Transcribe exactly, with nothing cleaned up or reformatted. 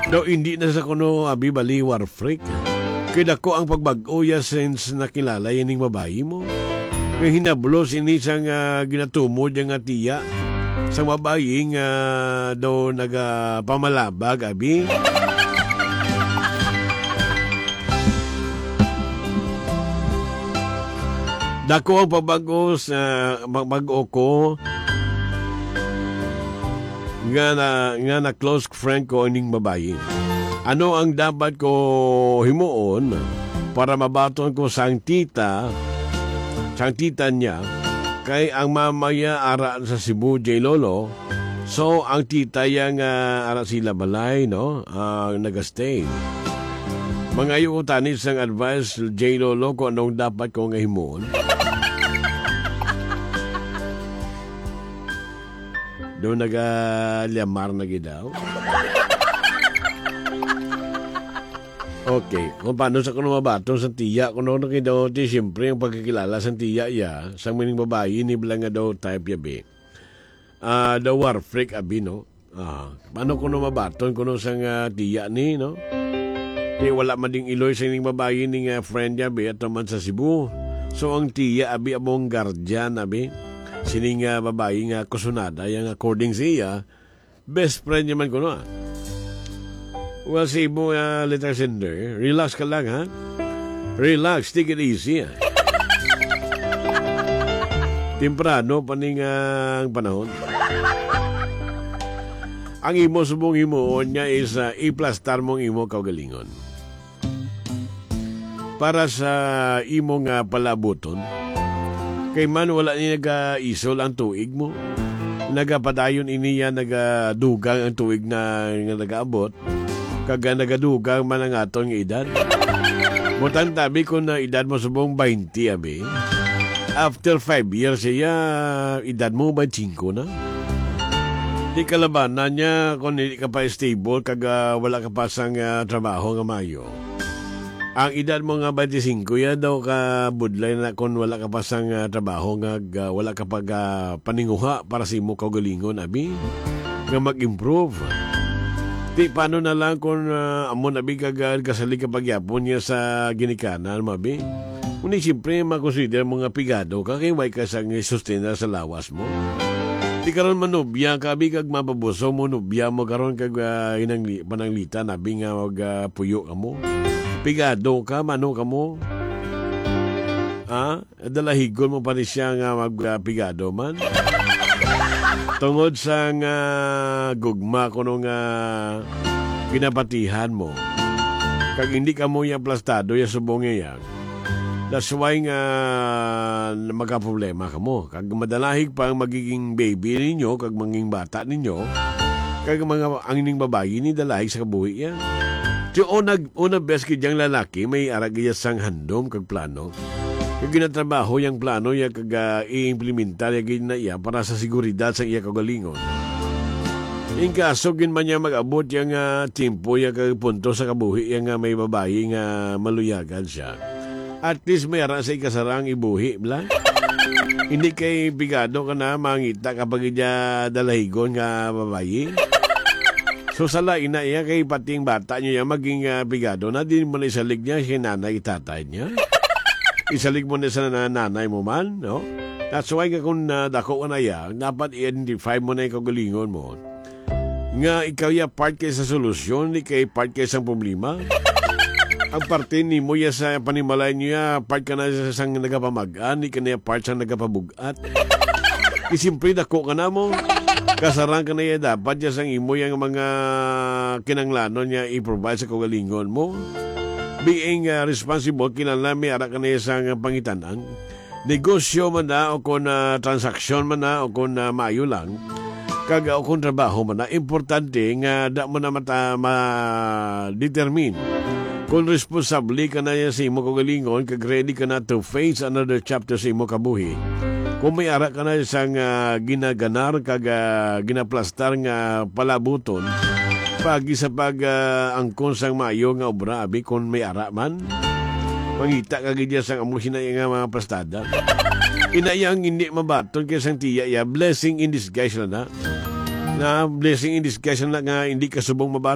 Daw hindi na sa kuno abi bali war freak. Kay dako ang pagbag-o ya since nakilala ya ning babayi mo. Nga hinablos ini sang, ah, ginatumod ya nga tiya sang babayi nga daw nagapamalabag abi. Dako ang pabag-o sa, pabag-o ko nga na, nga na close friend ko ining babayi. Ano ang dapat ko himuon para mabaton ko sang tita, sang tita niya, kay ang mama niya ara sa Cebu, J Lolo, so, ang tita ya nga ara sila balay, no? Ah, nagastay. Mangayo ko tani sang advice, J Lolo, kung anong dapat ko nga himuon. Do nagalyamar na gid daw. Okay, kung paano sa kuno mabaton sa tiya, kuno na kay daw, ti, siyempre, ang pagkakilala sa tiya ya, sa mining babayi, ni bala nga daw type ya, be. Ah, the war freak abi, no? Ah, paano kuno mabaton kuno sang, ah, tiya ni, no? Kay wala man ding iloy sa ining babayi ni nga friend niya, be, ato man sa Cebu. So, ang tiya abi among guardian abi. Sining, ah, babayi nga kusunada, yang according sa iya, best friend niya man kuno, ah. Well, sa imo, ah, letter sender, relax ka lang, ha? Relax, take it easy, ah. Temprano pa ning, ah, ang panahon. Ang imo subong himuon niya is, ah, iplastar mo ang imo kaugalingon. Para sa imo nga palabuton, kay man wala ni nagaisol ang tuig mo. Nagapadayon ini ya, nagadugang ang tuig na nga nagaabot. Kag, ah, nagadugang man ang aton nga edad. Butang tabi kung na edad mo subong twenty, abi. After five years, iya, edad mo twenty-five na. Di kalabanan niya kung hindi ka pa stable, kag, ah, wala ka pa sang, ah, trabaho nga mayo. Ang edad mo nga twenty-five, ya daw ka budlay na kung wala ka pa sang, ah, trabaho nga, ah, wala ka pa ga paninguha para sa imo kaugalingon, abi, nga mag-improve. Ti, paano na lang kung, ah, amo na, abi, kag, ah, kasalig ka pagyapon niya sa ginikanan mo, abi? Kung di, siyempre, makonsider mo nga pigado ka kay way ka sang sustentar sa lawas mo. Ti karon manubya ka, abi, kag mapabuso mo, nubya mo karon kag, ah, inangli-, pananglitan, abi, nga mag, ah, puyo ka mo. Pigado ka, mano ka mo. Ah, dalahigon mo pa ni siya nga mag, ah, pigado man. Tungod sa nga gugma kuno nga ginapatihan mo. Kag hindi ka mo iya plastado, iya subong iya. That's why nga magaproblema ka mo. Kag madalahig pa ang magiging baby ninyo, kag magiging bata ninyo. Kag mga, ang ining babayi ni dalahig sa kabuhi iya. Ti una, una bes gid yang lalaki, may ara gid iya sang handom kag plano. Kag ginatrabaho yang plano iya kag, ah, i-implementar iya gid na iya para sa seguridad sa iya kaugalingon. In kaso gid man niya mag-abot yang, ah, tiempo iya kag punto sa kabuhi iya nga may babayi nga maluyagan siya. At least may ara sa ikasarang ibuhi, bla? Hindi kay pigado ka na, mangita ka pa gid iya dalahigon nga babayi. So, sa lain na iya kay pating bata niyo iya maging, ah, pigado na, di mo na isalig niya si nanay, tatay niya. Isalig mo na sa na-, nanay mo man, no? That's why nga kung, ah, dako ka na iya, dapat i-identify mo na yung kaugalingon mo. Nga ikaw ya part kay sa solusyon, di kay part kay sang problema. Ang parte nimo ya sa panimalay niya, part ka na sa sang nagapamag-an, di ka na ya part sang nagapabug-at. Di siyempre, dako ka na mo. Kasarang ka na ya, dapat ya sang imo yang mga kinanglanon niya i-provide sa kaugalingon mo. Being, ah, responsible, kinahanglan may ara ka na ya sang pangitan-an. Negosyo man na, o kung, ah, transaksyon man na, o kung, ah, maayo lang, kag, ah, o kung trabaho man na, importante nga da mo na mata-, ma-determine kung responsable ka na sa imo kaugalingon, kag ready ka na to face another chapter sa imo kabuhi. Kung may ara ka na sang, ah, ginaganar, kag, ah, ginaplastar nga palabuton, pagi sa pag, ah, angkon sang maayo nga obra, abi, kung may ara man. Mangita ka gid ya sang amo sina nga mga pastada. Ina iya ang hindi mabaton kay sang tiya iya, blessing in disguise na na. Na blessing in disguise na nga hindi ka subong mabaton.